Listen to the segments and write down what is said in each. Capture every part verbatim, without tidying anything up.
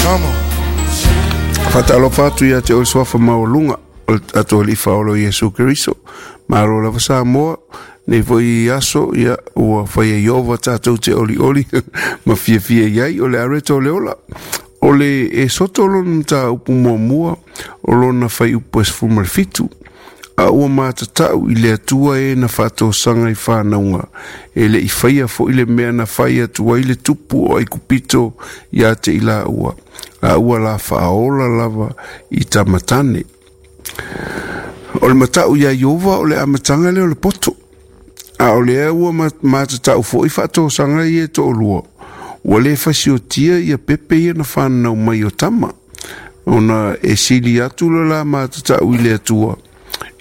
Come on. Faatalofa atu ia te oe suafa maualuga o le tatou Alii Faaola o Iesu Keriso. Malo lava Samoa, nei foi aso, ia, ua faia Ieova tatou te olioli ma fiafia i ai, o le areto o le ola. O le e soto lona mataupu muamua o lona fuaiupu e sefulu ma le fitu. A ua matatau i le Atua e na faatosaga i fanauga, e le i faia foi le mea na fai atu ai le tupu o Aikupito ia te i laua, a ua la faaola lava i tamatane. O le matau ia Ieova o le amataga lea o le poto. A o lea ua matatau foi faatosaga ia e toalua, ua le fasiotia ia pepe ia na fananau mai o tama, ona e sili atu le la matatau i le Atua,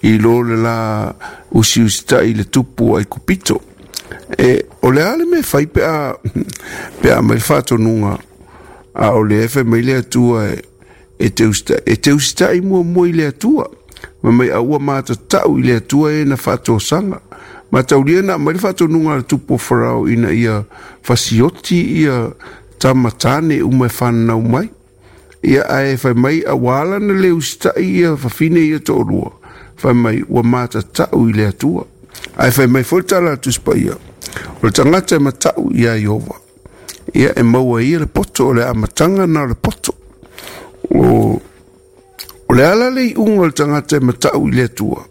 i lo le la usiusitai i le tupu o Aikupito. E, o le a le mea fai pe a, pe a mai le faatonuga, a o lea e fai mai le Atua e, e te usitai, e te usitai muamua i le Atua. Ma mai a ua matatau i le Atua e na faatosaga. Mataulia na aumai le faatonuga a le tupu o Farao ina ia fasioti ia tama tane uma e fananau mai. Ia ae fai mai a ua ala na le usitai ia fafine ia toalua. Fai mai ua matatau i le Atua. Ae fai mai foi le tala a le Tusi Paia, o le tagata e matau ia Ieova, ia e maua ia le poto, o le amataga na o le poto. O, o le ala le iuga o le tagata e matau i le Atua,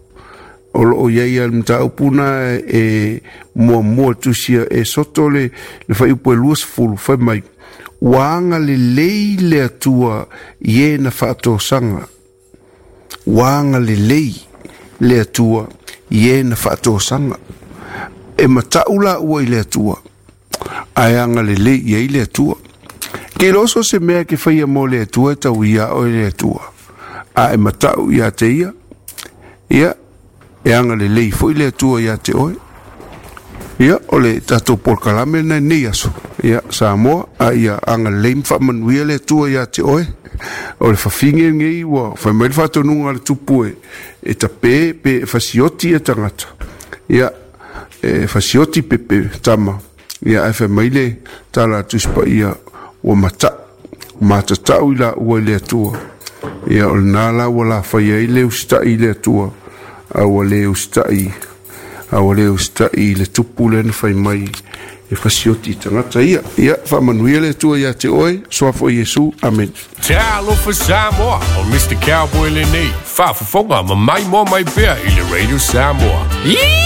o loo i ai a le mataupu na e muamua tusia e soto le, le fuaiupu e luasefulu, fai mai, ua agalelei le Atua i e na faatosaga. Ua agalelei le Atua i e na faatosaga. E matau laua i le Atua, ae agalelei i ai le Atua. Ke loso se mea ke faia mo le Atua e tau ia oe le Atua, a e matau ia te ia, ia, e agalelei foi le Atua ia te oe. Ia, o le tatou polokalame lena i lenei aso. Ia, Samoa, a ia agalelei ma faamanuia le Atua ia te oe. O le fafine lenei ua fai mai le faatonuga a le tupu e, e tape pe e fasioti ia tagata. Ia, e fasioti pepe tama. Ia, ae fai mai le tala a Tusi Paia ua matau, matatau i laua i le Atua. Ia, o lena la ua lafaia ai le usitai i le Atua, a ua le usitai, a ua le usitai i le tupu lea na fai mai e fasioti i tagata ia. Ia, faamanuia le Atua ia te oe, suafa o Iesu. Amene. Talofa Samoa, o Mister Cowboy lenei, faafofoga ma maimoa mai pea i le Radio Samoa.